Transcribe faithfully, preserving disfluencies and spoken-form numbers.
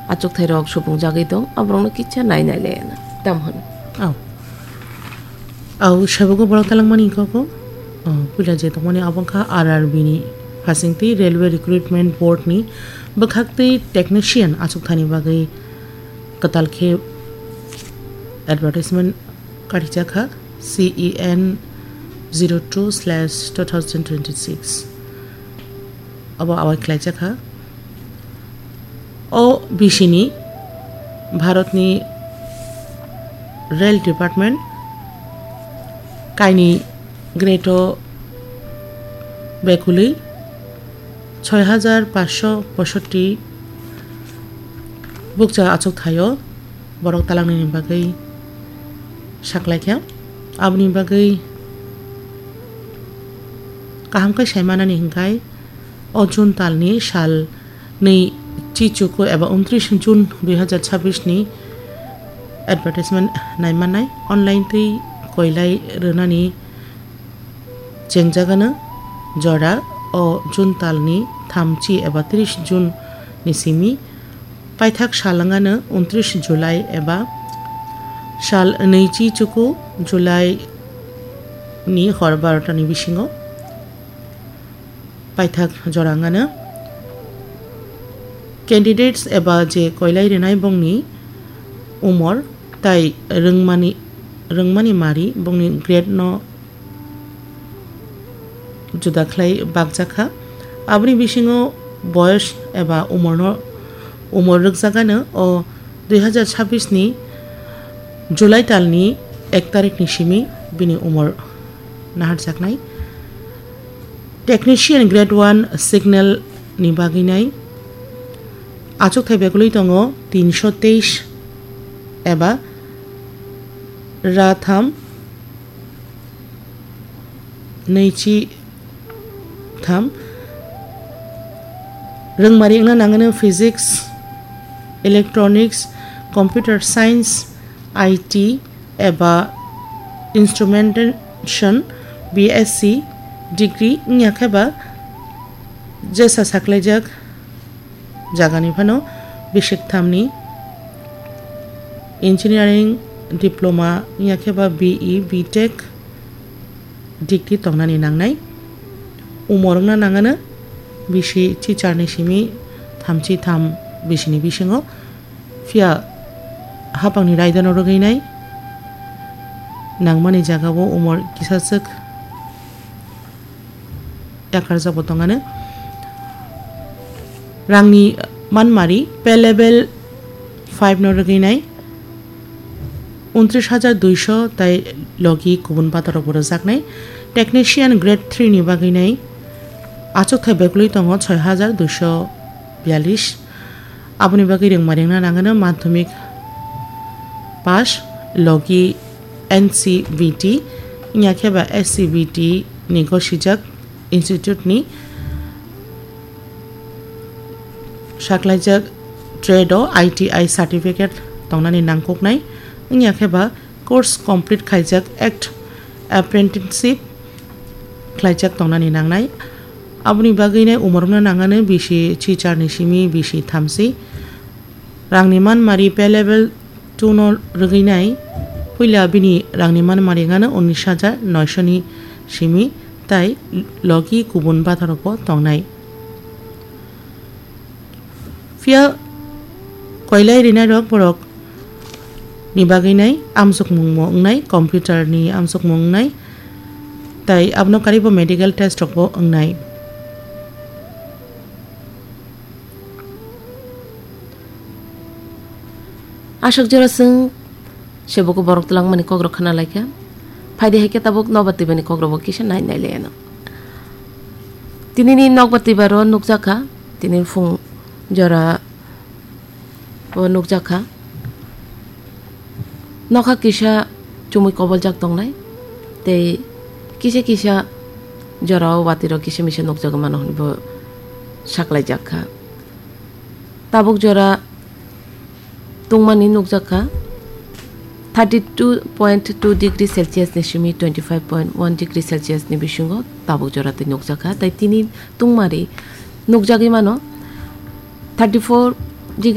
Achukthai rok supungjagwi tong, aborokno kisa nai nai le tamo hwn. Au. Au, saibogo borok talangmani koko. Oh, puila je tongmani abo wngkha R R B ni phasingtwi Railway Recruitment Board ni bwkhaktwi technician achukthani bagwi kwtal khe advertisement karijakha, C E N zero two slash two thousand twenty-six. Abo awai khlaijakha. O bisini Bharatni Rail Department kaini grade o bekulwi soi hajar paanch sho poisotti bukcha achuk thaio borok talangnini bagwi saklaikha. Aboni bagwi kaham khe saimanani hwnkhe o June talni sal nwi chichuku eba untris June dui hajar chabbish ni advertisement naimanai online twi koilai rwnani chengjagano jora o June talni thamchi eba tris June ni simi paithak sal wngano untris July eba sal nwichi chuku July ni hor barota ni bisingo paithak jora wngano candidates eba je koilai rwnai bongni umor tai rwngmani, rwngmani mari bongni grade no juda khlai bakjakha. Aboni bisingo boyos eba umorno, umor rwkjagano o dui hajar chabbish ni July talni ek tarikni simi bini umor naharjaknai. Technician grade one signal ni bagwi nai achukthai bekulwi tongo tinsho teis eba ra tham nwichi tham. Rwngmari wngna nangano physics, electronics, computer science, I T eba instrumentation, B S C degree wngya khe ba jesa saklaijak jagani phano bisik thamni engineering diploma wngya khe ba B E, B Tech degree tongnani nangnai. Umor wngna nangano bisi chichar ni simi thamchi tham bisini bisingo. Phiya hapangni raidano rwgwi nai nangmani jagao umor kisaswk yakarjakbo tongano. Rangni manmari pay level five no rwgwi nai untris hajar duisho tai logi kubun batarokbo rwjaknai. Technician grade three ni bagwi nai achukthai bekulwi tongo soi hajar duisho biyalish. Aboni bagwi rwngma rwngna nangano madhyamik pass logi N C B T wngya khe ba S C B T ni gosijak institute ni saklaijak trade o I T I certificate tongnani nangkuknai wngya khe ba course complete khaijak act apprenticeship khlaijak tongnani nangnai. Aboni bagwi nai umorokno nangano bisi chichar ni simi bisi thamsi. Rangni manmari pay level two no rwgwi nai. Puila bini rangni manmari wngano unis hajar noisho ni simi tai logi kubun batarokbo tongnai. Phiya koilai rinairok borok ni bagwi nai amsukmungbo wngnai, computer ni amsukmung wngnai, tai abono karibo medical test rokbo wngnai. Aswk jora chwng sebogo borok twlangmani kokrok khna laikha. Phaidi hai khe tabuk nokbar twibani kokrokbo kisa nai nai laiano. Tinini nokbar twibaro nukjakha, tini phung jora o nukjakha. Nokha kisa chumui koboljak tongnai, tei kisa kisa jorao watirok kisa misa nukjagwi mano hwnwi bo saklaijakha. Tabuk jora tungmani nukjakha, thirty two point two degree Celsius ni simi twenty five point one degree Celsius ni bisingo tabuk jora tei nukjakha, tei tini tungmari nukjagwi mano thirty four